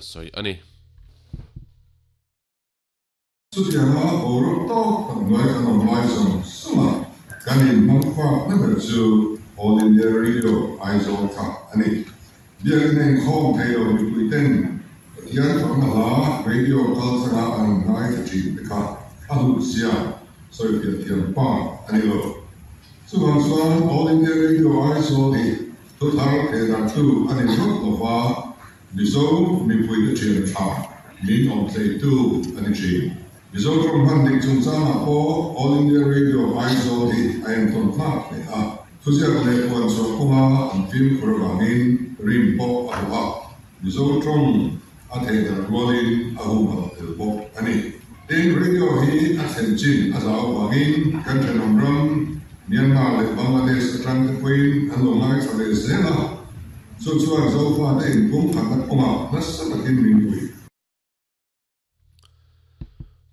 sawi a ni. Chutianga boruak tawk tak hnuai kan awm lai zawng zawng a, kan inhmang fak na ber chu All India Radio Aizawl kha a ni. Biakinn a inkhawm thei lo mipui ten Pathian fakna hla radio kal tlanga an rawn ngaithla thin te kha a hlut zia sawifiah thiam pa a ni lo. Chuvang chuan All India Radio Aizawl hi thuthar thehdarhtu a ni ringawt lo va, Mizo mipuite thian tha min awm theitu a ni thin. Mizo tawng hman dik chungchangah pawh All India Radio Aizawl hi a entawn tlak hle a. Thuziak leh puan chhuah kawnga an fimkhur avangin rim pawh a hlawh a, Mizo tawng a thehdarh rualin a humhalh tel bawk a ni. Tin, radio hi a thlen chin a zau avangin kan thenawm ram Myanmar leh Bangladesh atang te pawhin an lo ngaithla ve zel a, chu chuan Zofate inpumkhatna kawngah nasa takin min pui.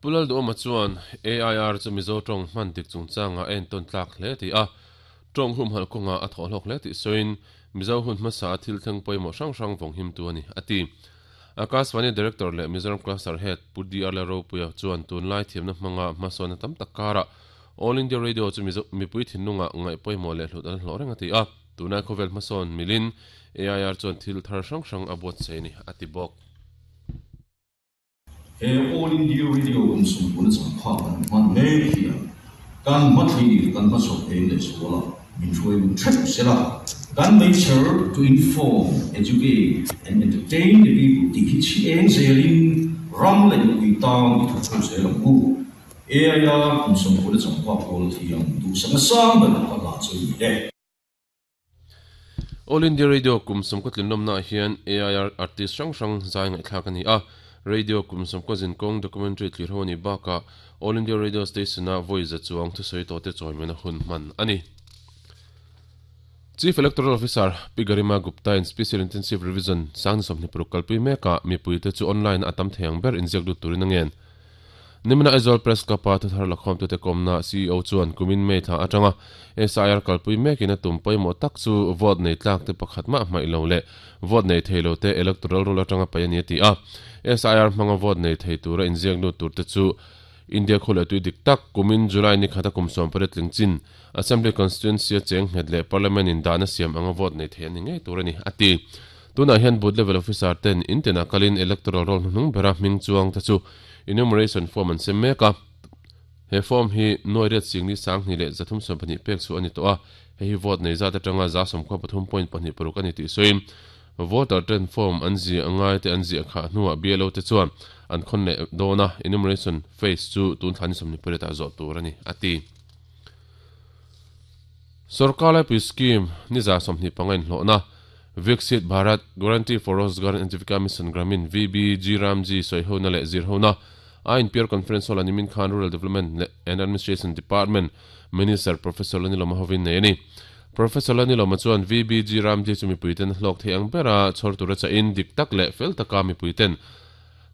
Pu Lalduhawma chuan AIR chu Mizo tawng hman dik chungchangah a entawn tlak hle tih a, tawng humhalh kawngah a thawh hlawk hle tih sawiin Mizo hun hmasa a thil thleng pawimawh hrang hrang vawng himtu a ni, a ti. Akashvani Director leh Mizoram Cluster Head Pu DR Lalropuia chuan tunlai thiamna hmanga hmasawnna tam tak karah All India Radio chu Mizo mipui thinlungah ngaih pawimawh leh hlut an hlawh reng a ti a, tunlai khawvel hmasawn milin AIR chuan thil thar hrang hrang a buatsaih a ni, a ti bawk. He All India Radio kum sawmpuna changphak kan hman mek hian kan hmathlir kan hmachhawp eng leh zual a, min hruai lung theuh sela, kan nature to inform, educate and entertain the people tih hi chhi eng zelin ram leh mipui tan i thawk ho zel ang u. AIR kum sawmpuna changphak pawl thiam duhsakna sang ber ka hla chu ni e. All India Radio kum sawmkaw tlinlawmnaah hian AIR artist hrang hrang zai ngaihthlak a ni a, radio kum sawmkaw zinkawng documentary thlir ho a nih bakah All India Radio Station-a vawi za chuang thusawi tawhte chawimena hun hman a ni. Chief Electoral Officer Pi Garima Gupta-in Special Intensive Revision sangni 26 kalpui mekah mipuite chu online-a a tam thei ang ber inziak lut turin a ngen. Nimina Aizawl Press Club-a thuthar lakhawmtute kawmna ceo chuan kumin May thla atanga SIR kalpui mekin a tum pawimawh tak chu vote nei tlakte pakhat mah hmaih lo leh vote nei thei lote electoral roll atanga paih a ni a ti a. SIR hmanga vote nei thei tura inziak lut turte chu India khaw leh tui dik tak kumin July ni khata kum 18 tling chin Assembly Constituency-a cheng nghet leh Parliament in dahna siam anga vote nei thei an ni ngei tur a ni a ti. Tunah hian Booth Level Officer ten in tinah kalin Electoral Roll hnuhnung bera hming chuang te chu Enumeration Form an sem mek a. He form hi nuai riat singli sanghnih leh 312 pek chhuah a ni tawh a, hei hi vote nei zat atanga 93.26 a ni tih sawiin voter ten form an ziah ngai te an ziah khah hnuah BLO te chuan an khawn leh dawn a, enumeration phase chu tun thla ni 28 ah zawh tur a ni, a ti. Sorkar laipui scheme ni 25 inhlawhna Viksit Bharat Guarantee for Rozgar and Ajeevika Mission Gramin, VBG Ramji, sawihona leh zirhona a inpiar Conference Hall-a nimin khan Rural Development and Administration Department Minister Professor Lanilawma hovin nei a ni. Professor Lanilawma chuan VBG Ramji chu mipuiten hlawk thei ang bera chhawr tura chahin dik tak leh fel taka mipuiten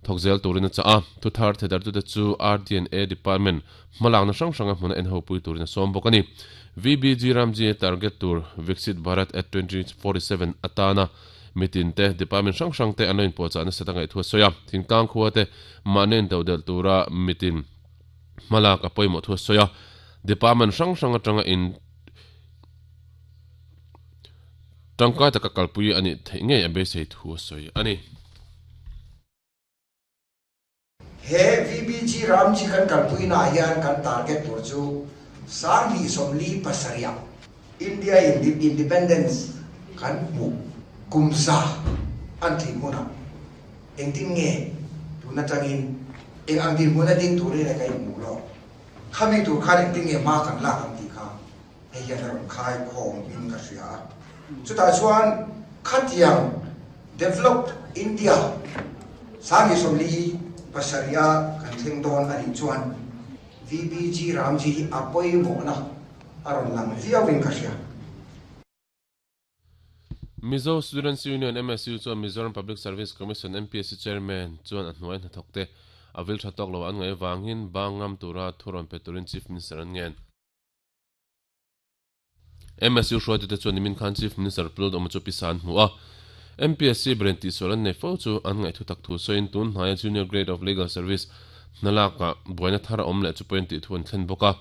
Thawk zel turin a chah a, thuthar thedartute chu RD&A Department hmalakna hrang hranga hmuna en hopui turin a sawm bawk a ni. VBG Ramji target tur Viksit Bharat at 2047 atana mitin te department hrang hrang te an lo inpuahchah nasat a ngaih thu a sawi a, thingtlang khua te mahni intodelh tura mitin hmalak a pawimawh thu a sawi a, department hrang hrang atanga in tangkai taka kalpui a nih theih ngei a beisei thu a sawi a ni. He VBG Ramji kan kalpuinaah hian kan target tur chu 2047 ah India in Independence kan hmuh kum za an tlin hunah engtin nge tun atangin eng ang dinhmun a ding turin e ka inhmuh lawk khami tur khan engtin nge hma kan lak ang tih kha Hei hian a rawn khai khawm in ka hria a. Chutah chuan khatiang Developed India 2047 a kan thleng dawn a nih chuan VBG Ramji hi a pawimawhna a rawn lang viau in ka hria. Mizo Students Union, MSU, chuan Mizoram Public Service Commission, MPSC, Chairman chuan a hnuai hnathawkte a vil tha tawk lo an ngaih avangin bang ngam tura thu rawn pe turin Chief Minister an ngen. MSU hruaitute chuan nimin khan Chief Minister Pu Lalduhawma chu pisa an hmu a. MPSC berin tihsual an nei fo chu an ngaihthu tak thu sawiin tun hnaia Junior Grade of Legal Service hnalakah buaina thar a awm leh chu pawhin tih thu an thlen bawk a.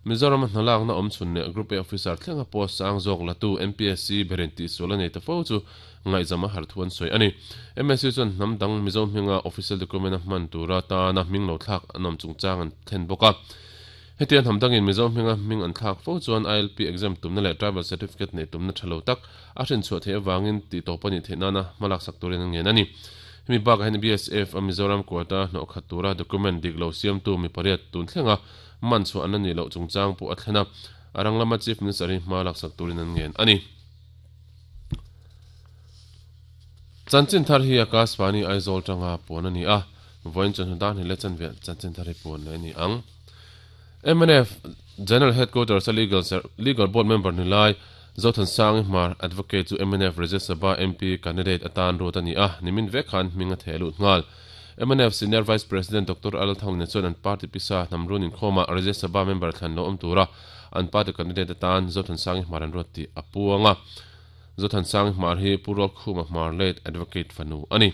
Mizorama hnalakna awm chhun leh Group A Officer thlenga post sang zawk latu MPSC berin tihsual a nei ta fo chu ngaihzam a har thu an sawi a ni. MSC chuan hnam dang Mizo hminga official document a hman tura tana hming lo thlak an awm chungchang an thlen bawk a. Hetiang hnam dangin Mizo hminga hming an thlak fo chuan ILP exam tumna leh Tribal Certificate neih tumna tha lo tak a hrinchhuah theih avangin tih tawp a nih theih nana hmalaksak turin an ngen a ni. Hemi bakah hian BSF a Mizoram quota hnawh khat tura document dik lo siamtu mi pariat tun thlenga man chhuah an la nih loh chungchang pawh a thlen a, a rang lama Chief Minister hi hma laksak turin an ngen a ni. Chanchin thar hi Akashvani Aizawl tanga puan a ni a, vawiin chawhnu dan hi leh chanve chanchin thar hi puan leh a ni ang. Mnf General Headquarters a Legal Legal Board member ni lai Zothansangi Hmar Advocate chu mnf Rajya Sabha MP candidate atan ruat a ni a, nimin vek khan hming a theh lut nghal. Mnf Senior Vice President Doctor Al Thangline chuan an party pisa hnam run inkhawmah Rajya Sabha member thlan lo awm tura an party candidate atan Zothansangi Hmar an ruat tih a puang a. Zothansangi Hmar hi Pu Rualkhuma Hmar late Advocate fanu a ni.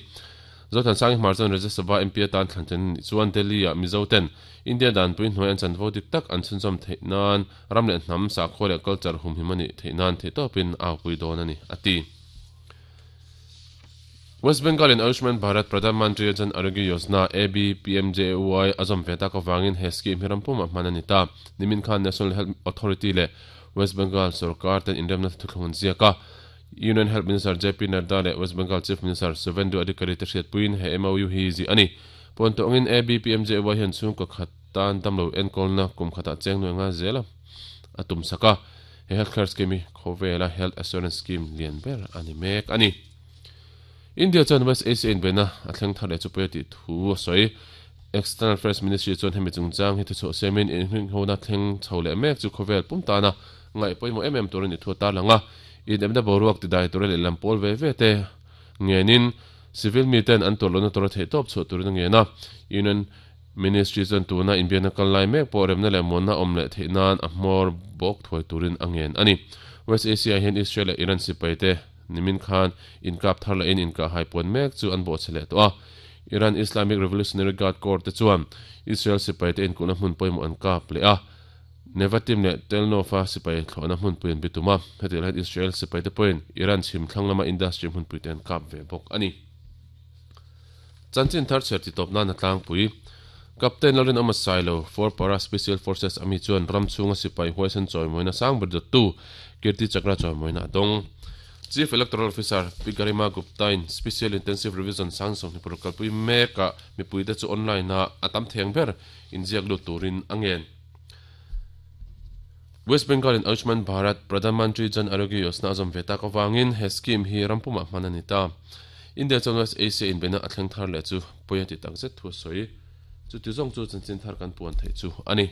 Zothansangi Hmar chuan Rajya Sabha MP atan thlan chen a nih chuan Delhi-ah Mizo ten India danpui hnuai an chanvo dik tak an chhunzawm theih nan ram leh hnam, sakhua leh culture humhim a nih theih nan theihtawpin a aupui dawn a ni, a ti. West Bengal in Ayushman Bharat Pradhan Mantri Jan Arogya Yojana, AB-PMJAY, a zawm ve tak avangin he scheme hi ram pumah hman a ni ta. Nimin khan National Health Authority leh West Bengal sorkar ten inremna thuthlung an ziak a. Union Health Minister JP Nadda leh West Bengal Chief Minister Suvendu Adhikari te hriatpuiin he MOU hi zih a ni. Puan tawh angin ABPMJAY hian chhungkaw khat tan damlo enkawlna kum khatah cheng nuai nga zel a tum sak a. He healthcare scheme hi khawvela health assurance scheme lian ber a ni mek a ni. India chuan West Asia inbeihna a thleng thar leh chu pawi a tih thu a sawi. External Affairs Ministry chuan hemi chungchang hi thuchhuah siamin inhringhona thleng chho leh mek chu khawvel pum tana ngaih pawimawh em em tur a nih thu a tarlang a. Inepna boruak tidai tura lehlam pawl ve ve te ngenin civil miten an tuar lohna tura theihtawp chhuah turin a ngen a. Union Ministry chuan tuna inbiakna kal lai mek pawh remna leh muanna awm leh theih nan a hmawr bawk thuai turin a ngen a ni. West Asia ah hian Israel leh Iran sipai te nimin khan inkap thar lahin inkahhai puan mek chu an bawhchhe leh tawh a. Iran Islamic Revolutionary Guard Corps te chuan Israel sipai te inkulhna hmun pawimawh an kap leh a, Nevatim leh Tel Nof-a sipai thlawhna hmunpui an bitum a. Hetiang hian Israel sipai te pawhin Iran chhim thlang lama industry hmunpui te an kap ve bawk a ni. Chanchin thar chhiar titawp nan a tlangpui. Captain Lalrinawma Sailo, For Para Special Forces ami chuan ram chhunga sipai huaisen chawimawina sang ber dawttu Kirti Chakra chawimawina a dawng. Chief Electoral Officer Pi Garima Gupta-in Special Intensive Revision sang 26 kalpui mekah mipuite chu online-a a tam theng ber inziak lut turin a ngen. West Bengal in Ayushman Bharat Pradhan Mantri Jan Arogya Yojana a zawm ve tak avangin he scheme hi ram pumah hman a ni ta. India chuan West Asia inbeihna a thleng thar leh chu pawi a ti takzet thu a sawi. Chuti zawng chu chanchin thar kan puan theih chu a ni.